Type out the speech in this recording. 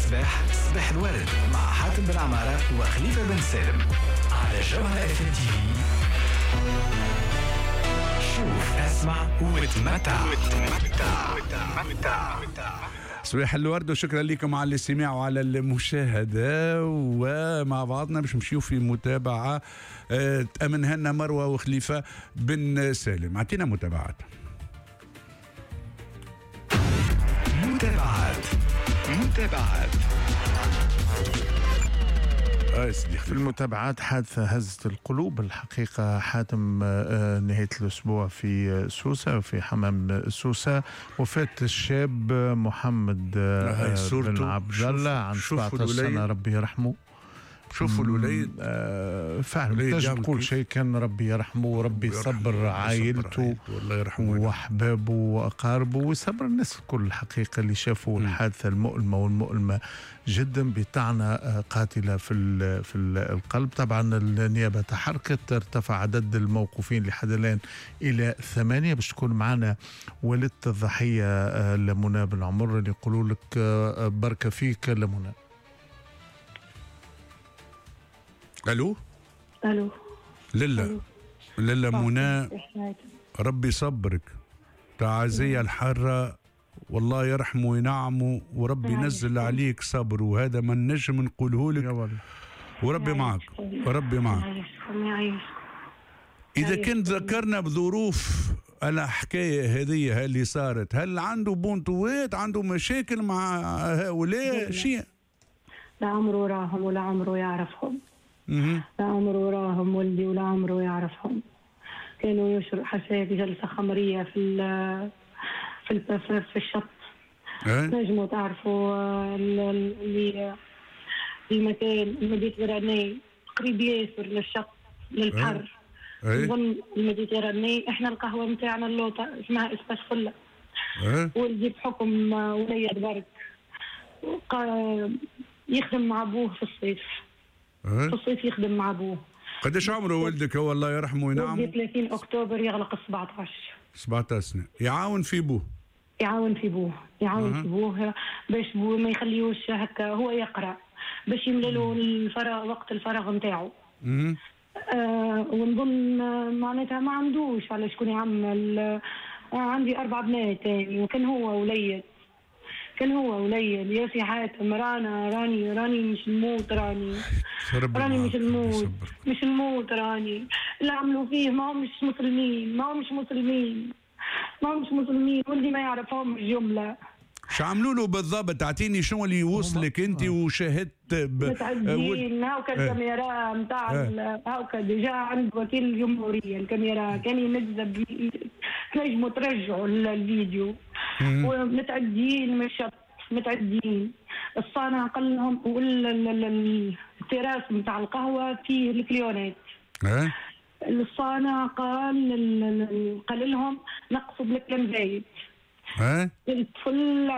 الصباح، صباح الورد مع حاتم بن عمارة وخليفة بن سالم على جوهرة اف ام تي في. شوف، اسمع وتمتع. صباح الورد وشكرا لكم على الاستماع وعلى المشاهدة، ومع بعضنا باش نمشيو في متابعة تأمنها لنا مروة وخليفة بن سالم. اعطينا متابعات. متابعات. في المتابعات حادثة هزت القلوب الحقيقة حاتم، نهاية الأسبوع في سوسة، في حمام سوسة، وفاة الشاب محمد بن عبد الله عن 17 سنة، ربي يرحمه. شوفوا الوليد فعلا تنجم تقول شيء، كان ربي يرحمه وربي يصبر عائلته واحبابه واقاربه ويصبر الناس الكل الحقيقة اللي شافوا الحادثة المؤلمة والمؤلمه جدا بطعنه قاتله في القلب. طبعا النيابة تحركت، ارتفع عدد الموقوفين لحد الان الى 8. باش تكون معنا والدة الضحية لمنى بن عمر اللي يقولوا لك بركة فيك لمنى. الو الو للا للا منى، ربي صبرك، تعازية الحارة، والله يرحمه وينعمه وربي ينزل عليك صبر، وهذا ما نجم نقوله لك، وربي معك وربي معك. إذا كنت ذكرنا بظروف الحكاية هذه اللي صارت، هل عنده بونتوات، عنده مشاكل مع هؤلاء شيء؟ لا عمره راهم ولا عمره يعرفهم. لا عمره راهم ولدي ولا عمره يعرفهم. كانوا يشرب حشاك جلسة خمرية في في في الشط. نجموا تعرفوا اللي المكان ال Méditerranée قريب ياسر للشط للبحر. نظن ال Méditerranée احنا القهوة نتاعنا اللوطة اسمها Espace فلة. ولدي بحكم وليد برك يخدم مع ابوه في الصيف. في الصيف يخدم مع ابوه. قداش عمره ولدك هو الله يرحمه وينعمه؟ 30 اكتوبر يغلق 17. 17 سنة، يعاون في بوه. يعاون في بوه، يعاون في بوه باش بوه ما يخليوش هكا، هو يقرا باش يملى له الفراغ وقت الفراغ نتاعو. ونظن معناتها ما عندوش على شكون يعمل. عندي 4 بنات تاني، وكان هو وليد، كان هو وليد يا سي حاتم. رانا راني راني مش نموت، راني راني مش نموت، مش نموت راني. اللي عملوا فيه ما همش مسلمين، ما همش مسلمين، ما همش مسلمين، ولدي ما يعرفهمش جملة. شو عملوا له بالضبط؟ اعطيني شنو اللي وصلك انت وشاهدت. متعدين هاوكا الكاميرا نتاع هاوكا déjà عند وكيل الجمهورية الكاميرا كان ينزل، تنجموا ترجعوا الفيديو. ومتعديين من الشط، متعديين. الصانع قال لهم التراس نتاع القهوة فيه الكليونات. الصانع قال لهم نقصوا بالكلام زايد. الطفل